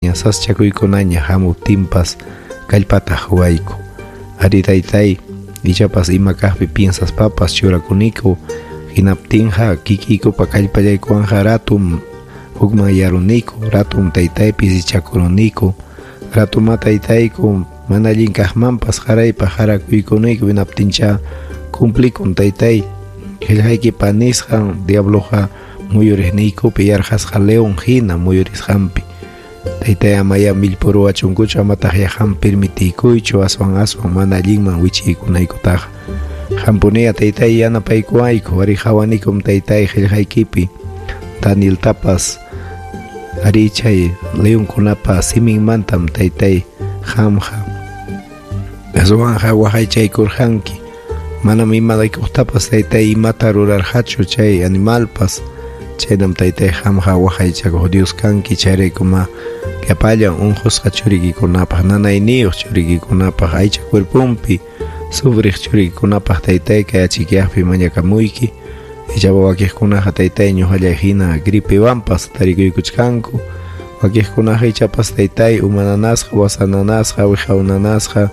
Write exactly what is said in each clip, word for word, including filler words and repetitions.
Sasachakuykunaña hamuptinpas kallpata quwayku. Ari taytay, ichapas ima kaqpi piensaspapas churakuniku, hinaptinqa kikiykupa kallpallaykuwanqa ratum hukmanyaruniku, ratum taytay pisichakuruniku, ratuma taytayku mana allin kaqmanpas qaraypaq qarakuykunayku, hinaptincha cumplikun taytay qillqaykipa nisqan diabloqa muyuriqniykupi yarqasqa león hina muyurisqanpi. Taytay amaya millpuruwachunkuchu, amataq qam permitiykuychu aswan aswan mana allinman wichiykunaykutaqa. Qampuniya taytay yanapaykuwayku, ari qawanikum taytay qillqaykipi Danieltapas ari chay leonkunapa siminmantam taytay qamqa aswanqa waqaychaykurqanki. Manam imalaykuqtapas taytay imata rurarqachu chay animalpas. Chaynam taytay qamqa waqaychakuq Dios kanki, chayraykuma llapallan unqusqa churikikunapaq, nanayniyuq churikikunapaq, aycha cuerponpi sufriq churikikunapaq taytay kay achikyaqpi mañakamuyki. Ichaqa wakiqkunaqa taytay ñuqallay hina gripewanpas tarikuykuchkanku, wakiqkunaqa ichapas taytay uma nanasqa, wasa nanasqa, wiqaw nanasqa,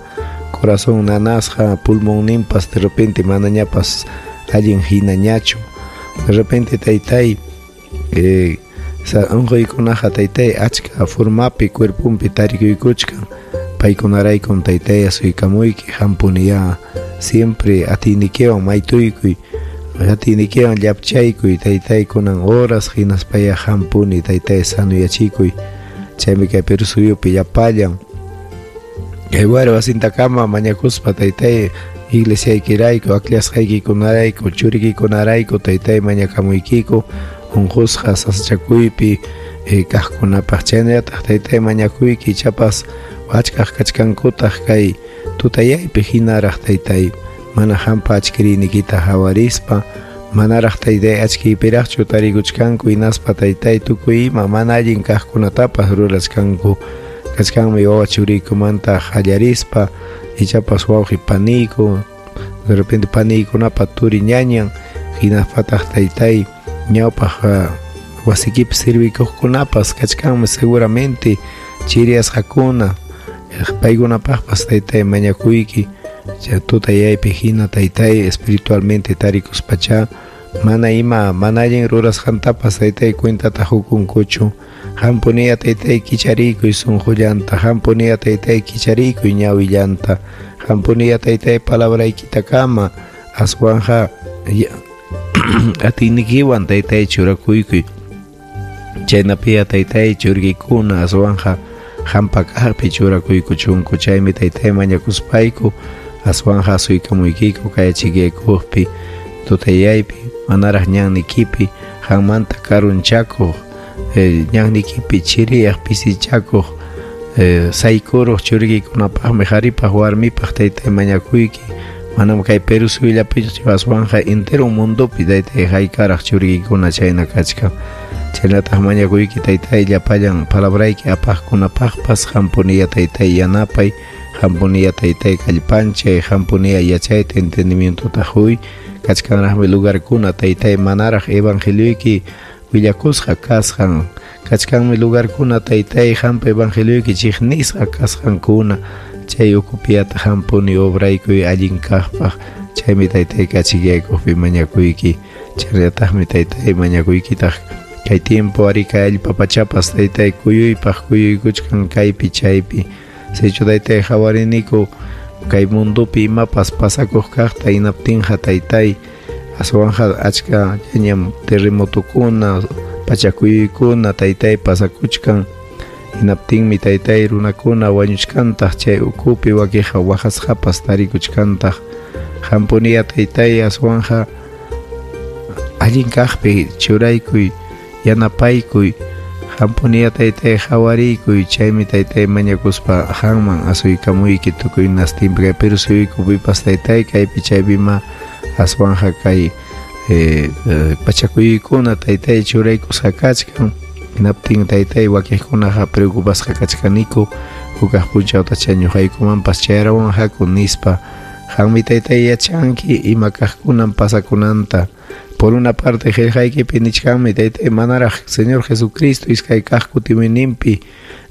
corazón nanasqa, pulmonninpas de repente manañapas allin hinañachu. De repente taytay eh, sa unquykunaqa taytay achka formapi cuerponpi tarikuykuchkan, paykunaraykum taytay asuykamuyki, qampuniya siempre atiynikiwan maytuykuy, atiynikiwan llapchaykuy taytay kunan horas hinaspaya qampuni taytay sanuyachikuy. Chaymi kay Perú suyupi llapallan kay wari wasintakama mañakuspa taytay iglesiaykirayku, akllashqaykikunarayku, churikikunarayku taytay mañakamuykiku unqusqa sasachakuypi eh, kaqkunapaq. Chaynallataq taytay mañakuyki ichapas achkaq kachkankutaq kay tutayaypi hinaraq taytay mana qampa achkiriynikita hawarispa, manaraq taytay achkiypiraqchu tarikuchkanku, hinaspa taytay tukuy ima mana allin kaqkunatapas rurachkanku. Kachkanmi wawa churiykumanta qallarispa ichapas wawqi paniyku, de repente paniykunapa turi ñañan, hinaspataq taytay ñawpaq wasikipi sirvikuqkunapas kachkanmi seguramente chiriyasqakuna, paykunapaqpas taytay mañakuyki. Tutayaypi hina taytay espiritualmente tarikuspacha mana ima mana allin rurasqantapas taytay cuentata hukunkuchu. Qampuniya taytay kichariykuy sunqullanta, qampuniya taytay kichariykuy ñawillanta, qampuniya taytay palabraykitakama aswanja atiynikiwan taytay churakuykuy. Chaynapiya taytay churikikuna aswanja qampa kaqpi churakuykuchunku. Chaymi taytay mañakuspayku aswanja asuykamuykiku kay achikaykuqpi tutayaypi manaraq ñannikipi qanmanta karunchakuq, eh, ñannikipi chiriyaq pisichakuq, eh, saykuruq churikikunapaqmi qaripaq warmipaq taytay mañakuyki. Manam kay Perú suyullapichu aswanja entero mundopi taytay haykaraq churikikuna chayna kachkan. Chaynataq mañakuyki taytay llapallan palabrayki apaqkunapaqpas qampuniya taytay yanapay, qampuniya taytay kallpanchay, qampuniya yachayta entendimientota huy. Kachkanraqmi lugarkuna taytay manaraq evangelioyki willakusqa kasqan, kachkanmi lugarkuna taytay qampa evangelioyki chiqnisqa kasqankuna. Chay ukupiyata qampuni obraykuy allin kaqpaq. Chaymi taytay kachikaykuqpi mañakuyki. Chaynallataqmi taytay mañakuykitaq kay tiempo ari kay allpa pachapas taytay kuyuypaq kuyuykuchkan kaypi chaypi. Sichu taytay qawariniku kay mundopi imapas pasakuq kaqta, hinaptinqa taytay aswanja achka ñañam terremotokuna, pachakuyuykuna taytay pasakuchkan. Hinaptinmi taytay runakuna wañuchkantaq chay ukupi wakiqa waqasqapas tarikuchkantaq. Qampuniya taytay aswanja allin kaqpi churaykuy, yanapaykuy, qampuniya taytay qawariykuy. Chaymi taytay mañakuspa qanman asuykamuyki tukuy nastinpi kay Perú suyuykupipas taytay kaypi chaypima aswanja kay eh, eh, pachakuyuykuna taytay churaykusqa kachkan. Hinaptin taytay wakiqkunaqa preocupasqa kachkaniku hukaq punchawtacha ñuqaykumanpas chayarawanqaku nispa. Qanmi taytay yachanki ima kaqkunan pasakunanta. Por una parte qillqaykipi nichkanmi taytay manaraq Señor Jesucristo iskay kaq kutimuyninpi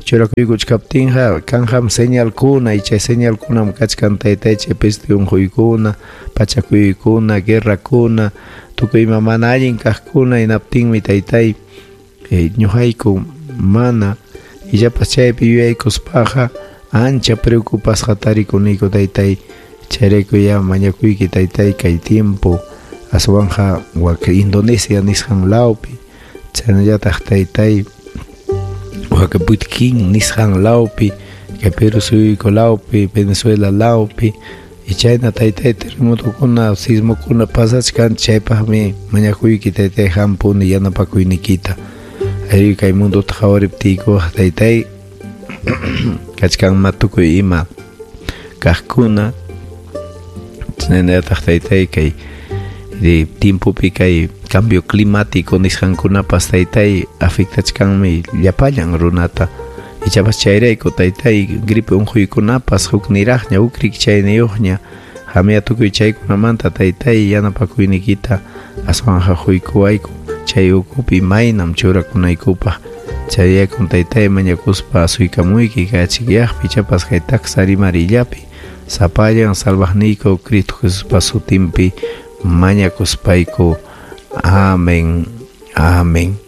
Churakuykuchkaptinqa kanqam señalkuna y chay señalkunam kachkan taytay chay peste unquykuna, pachakuykuna, guerrakuna, tukuy ima mana allin kaqkuna hinaptinmi taytay eh, ñuqayku mana illapas chaypi yuyaykuspaqa ancha preocupasqa tarikuniku taytay. Chayrayku ya mañakuyki taytay kay tiempo aswanqa wak Indonesia nisqan lawpi chaynallataq taytay wak Putkin nisqan lawpi kay Perú suyuyku lawpi Venezuela lawpi y chayna taytay terremotokuna sismokuna pasachkan chaypaqmi mañakuyki taytay hampuni yanapakuynikita arí kay mundota qhawariptiykuqa taytay kachkanma tukuy ima kaqkuna chaynallataq taytay kay de tiempopi kay cambio climático nisqankunapas taytay afectachkanmi llapallan runata ichapas chayrayku taytay gripe unquykunapas hukniraqña huk rikchayniyuqña hamiya tukuy chaykunamanta taytay yanapakuynikita aswanqa huykuwayku chay ukupi maynam churakunaykupaq chayraykum taytay mañakuspa asuykamuyki kay achikyaqpi ichapas kay taksa rimarillapi sapallan salvaqniyku Cristo Jesuspa sutinpi mañakuspayku. Amén. Amén.